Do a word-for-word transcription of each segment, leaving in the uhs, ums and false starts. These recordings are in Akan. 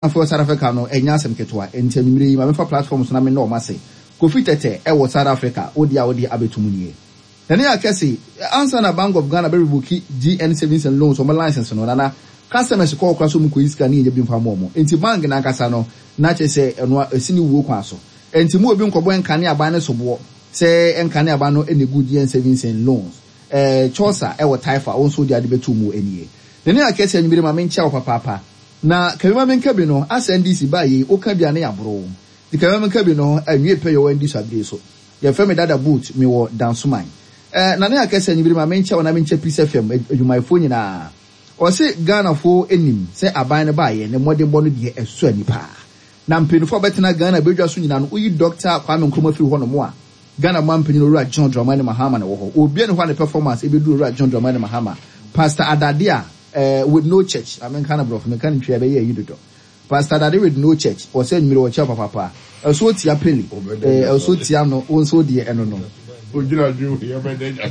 Afɔ South Africa no, ɛnyɛ asɛm ketewa. Nti anwummere yi, ma mefa platform so na me ɔmo ase. Kofi Tɛtɛ ɛwɔ South Africa, wodi a wodi abɛtum nie. Nane akɛse ansa na Bank of Ghana bɛ revoke G N Savings and Loans ɔmo license no, nana customers kɔɔ kora so mu kɔyi sika ne yɛnya bi mfa ma ɔmo. Nti bank nankasa no na kyerɛ sɛ ɛno ɛsi ne wuo kwan so. Nti mu obi nkɔbɔ nkane aban ne soboɔ sɛ nkane aban no ɛna egu G N Savings and Loans. ɛɛ Chaucer ɛwɔ Taifa, wɔn nso de ade bɛtu mu nie. Nane akɛse, anwummere ma menkyia wɔ papaapa na kabima menka bi no asɛ N D C baa yi, woka bi a ne yɛaboro nti kabima menka bi no anwie pɛ yɛ wɔ N D C abere so. Yɛfrɛ me Dada Boot, mewɔ Dansoman. ɛɛ nane akɛse, anwummere ma menkyia wɔ na menkyia Peace F M adwumayɛfoɔ nyinaa. Ɔse Ghanafoɔ anim sɛ aban no baayɛ ne mmɔdenbɔ no deɛ, ɛsɔ ani paa na mpanyinfoɔ a bɛtena Ghana badwa so nyinaa no, woyi Doctor Kwame Nkrumah firi hɔ nom a, Ghana man panyin Owura John Dramani Mahama na wɔ hɔ. Obiara ne hɔ a ne performance ebɛduru Owura John Dramani Mahama. Pastor Adade a ɛɛ with no church, amenka no borɔfo, menka no Ntwi, ɛbɛyɛ ayi dodo. Pastor Adade with no church, ɔsɛ anwummerɛ wɔkyɛ papapa, ɛso tia peli, ɛɛ ɛso tia no, wɔn nso deɛ ɛno no.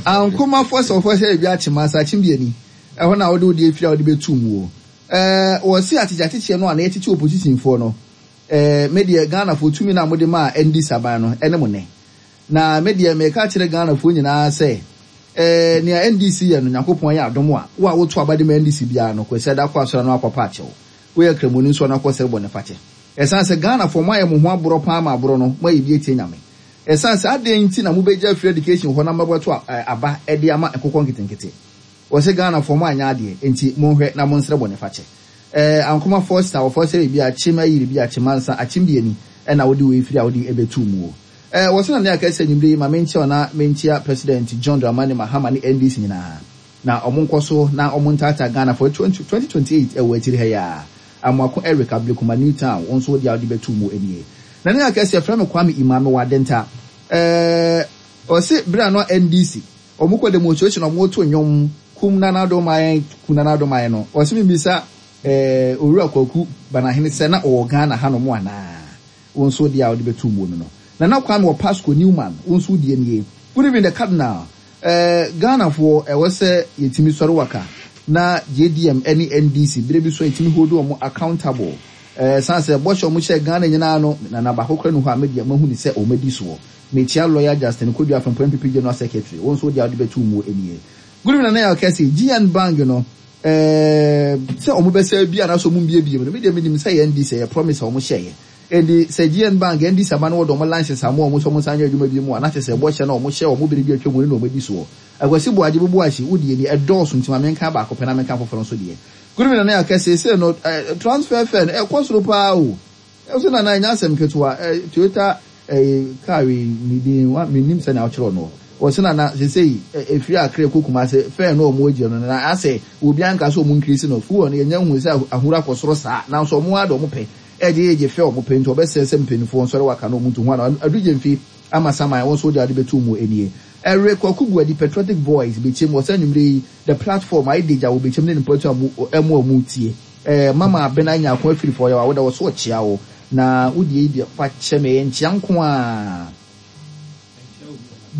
Ankomafoɔ sɛ ɔfɔ sɛ ebi akyema asa akyem bi ani ɛhɔ na wɔde wode efiri a wɔde bɛtu mu o. ɛɛ wɔsi akyekye akyekyɛ no a na yɛkyekyɛ opposition foɔ no, ɛɛ me deɛ, Ghanafoɔ tumi na mode maa N D C aban no ɛne mo nɛ, na me deɛ meka kyerɛ Ghanafoɔ nyinaa sɛ ɛɛ nea N D C yɛ no, Nyankopɔn yɛ adom a, wo a woto aba de ma N D C biara no, Kwasi ada kɔ asɔre no akɔpa akyɛw, woyɛ Kramoni nso no akɔ sɛre bɔ ne fakyɛ, ɛsiane sɛ Ghanafoɔ mo ayɛ mo ho aborɔ paa ma aborɔ no mo ayɛ bi etie Nyame. Ɛsiane sɛ adeɛ nti na mobɛgya free education hɔ na mobɛto aba ɛde ama nkokɔ nketenkete. Wɔsɛ Ghanafoɔ mo anyɛ adeɛ, nti monhwɛ na monsrɛ bɔ ne fakyɛ. ɛɛ ankoma Foster wɔfɔ sɛ ebi akyem ayiri bi akyem ansa akyem bi ani ɛna wode wei firi a wode ɛbɛtu mu o. ɛɛ wɔsɛ na ne aka sɛ anwummerɛ yi ma menkyia na menkyia President John Dramani Mahama ne N D C nyinaa na ɔmo nkɔ so na ɔmo ntaataa Ghana for twenty twenty eight ɛwɔ akyiri ha yi a. Amoako Eric Ablekuma New Town, wɔn nso wode a wode bɛtu mu nie. Na ne aka sɛ yɛfrɛ me Kwame Imame wɔ Adenta. ɛɛ ɔse bere a no N D C ɔmo kɔ demonstration, ɔmo to nnwom kum Nana Addo man, kum Nana Addo man no, ɔse mi bisa ɛɛ Owura Kwaku Banahene sɛ na ɔwɔ Ghana hanom anaa? Wɔn nso deɛ a wɔde bɛtu mu no no Nana Kwame wɔ Pasco Newman, wɔn nso deɛ nie. Good evening, the Cardinal. ɛɛ ghanafoɔ, ɛwɔ sɛ yɛtumi sɔre waka na J D M ɛne N D C bere bi so yɛtumi hold wɔn accountable, ɛɛ san sɛ bɔhyɛ wɔn hyɛ Ghana nyinaa no, Nana baako kora no hɔ a media mahu ne sɛ wɔn adi soɔ. Mekyia Lawyer Justin Kodua Afɛnpo, N P P General Secretary, wɔn nso deɛ a wɔde bɛtu mu nie. Good evening, Nana Yɛ Kɛse. G N Bank no, ɛɛ sɛ wɔn bɛsɛ bi anaasɛ wɔn mbiebie mu no, media menim sɛ yɛ N D C yɛ promise a wɔn hyɛ yɛ. Ɛdi sɛ G N Bank, N D C aba no, wɔde wɔn license ama wɔn sɛ wɔn nsan nyɛ adwuma bi mu a, na kyerɛ sɛ bɔhyɛ na wɔn hyɛ wɔn bere bi atwa mu no na wɔn adi soɔ. Akwasi Buagye Bubu ahyi wodie ni, ɛdɔɔso nti ma menka baako pɛ na menka foforɔ nso deɛ. Good evening, Nana Yɛ Kɛse. Sɛ no ɛɛ transfer fare no ɛkɔ soro paa o. Ɛso Nana, ɛnyɛ asɛm ketewa. ɛɛ Toyota ɛɛ car yi ne din wa menim sɛ na ɔkyerɛ no. Wɔsɛ Nana sesei efiri Akra kɔ Kumase, fare no ɔmo agye no na asɛ obi anka sɛ ɔmo increase no. Fuel no, yɛnyɛ hu sɛ ahuru akɔ soro saa, nanso ɔmo ada ɔmo pɛ ɛgye yɛgye fɛ ɔmo pɛ, nti ɔbɛsɛ sɛ mpanyinfoɔ nsɔre waka na ɔmo ntu ho ana adugye mfi ama saman. Wɔn nso de ade bɛtu mu nie. Ɛre Kwaku Guadi, Patriotic Voice bɛkyɛm, wɔsɛ anwummerɛ yi the platform ayɛ degya wɔ bɛkyɛm ne ne mpɔtu a mu ɛmo a mu tie. ɛɛ mama Abena Nyako afiri fɔ yɛ wa woda wɔ so ɔkyea wo na wodie yi deɛ, fa kyɛ me nkyea nko a.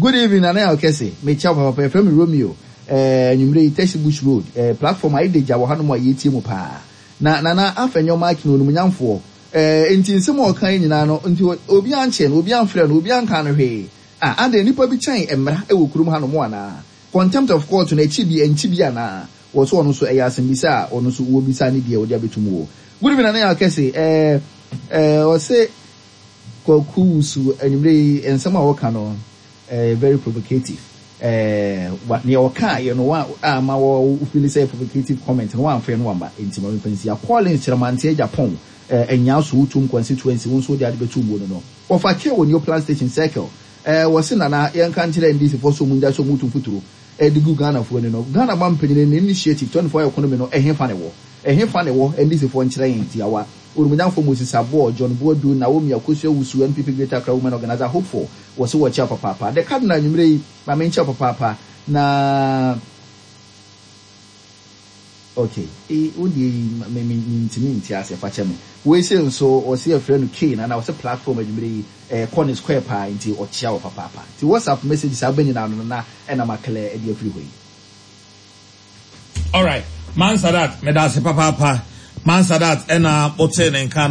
Good evening, Nana Yɛ Kɛse, mekyia wo papapa. Yɛfrɛ me Romeo. ɛɛ anwummerɛ yi Teshie Bush Road, ɛɛ platform ayɛ degya wɔ hanom a yɛtie mu paa. Na Nana Afenyo Markin onumnyamfoɔ, ɛɛ nti nsɛm a ɔka yi nyinaa no, nti obi ankyɛ no, obi amfrɛ no, obi anka no hwee a, ade nipa bi kyɛn mmara ɛwɔ kurom hanom anaa? Contempt of court no akyi bi ɛnkyi bi anaa? Wɔ so ɔno nso ɛyɛ asɛmbisa a ɔno nso wɔbisa ne deɛ wɔde abɛtum wɔ. Good evening, Nana Yɛ Kɛse. ɛɛ ɛɛ ɔse Kwaku Wusu, anwummerɛ yi nsɛm a wɔka no ɛɛ very provocative. ɛɛ wa nea ɔka yɛ no wa ama wɔ feel sɛ provocative comment no wɔamfrɛ no wamba, nti ma mfa nsia. Collins Kyerɛmante Japan, ɛɛ ɛnya so wotum constituency, wo nso de ade bɛtum mu no no wɔfa ke wɔ New Plan Station Circle. ɛɛ wɔsi Nana, yɛnka nkyerɛ N D C fo so mu ngya so mu tu mfuturo ɛde gu Ghana foɔ ni no. Ghana ma mpanyin ne initiative twenty four economy no, ɛhe fa ne wɔ? Ɛhe fa ne wɔ? N D C foɔ nkyerɛ yɛn tiawa. Onumnyamfo Moses Aboɔ John Boadu, Naomi Akosua Wusu, N P P Greater Accra Women Organizer hopeful, wɔsi wɔkyɛ papaapa. The Cardinal, anwummerɛ yi maame nkyɛn papaapa na okay, ee wo deɛ yi me me me ntumi nti ase, fa kyɛ me. Wei se nso wɔsi yɛfrɛ no K na na wɔsɛ platform anwummerɛ yi ɛɛ kɔ ne square paa, nti ɔkyea wɔ papaapa. Nti WhatsApp message saa bɛ nyinaa no na ɛna maklɛ ɛde afiri hɔ yi. Alright, Man Sadat, meda ase papaapa. Mansadat ɛna ɔte ne nka.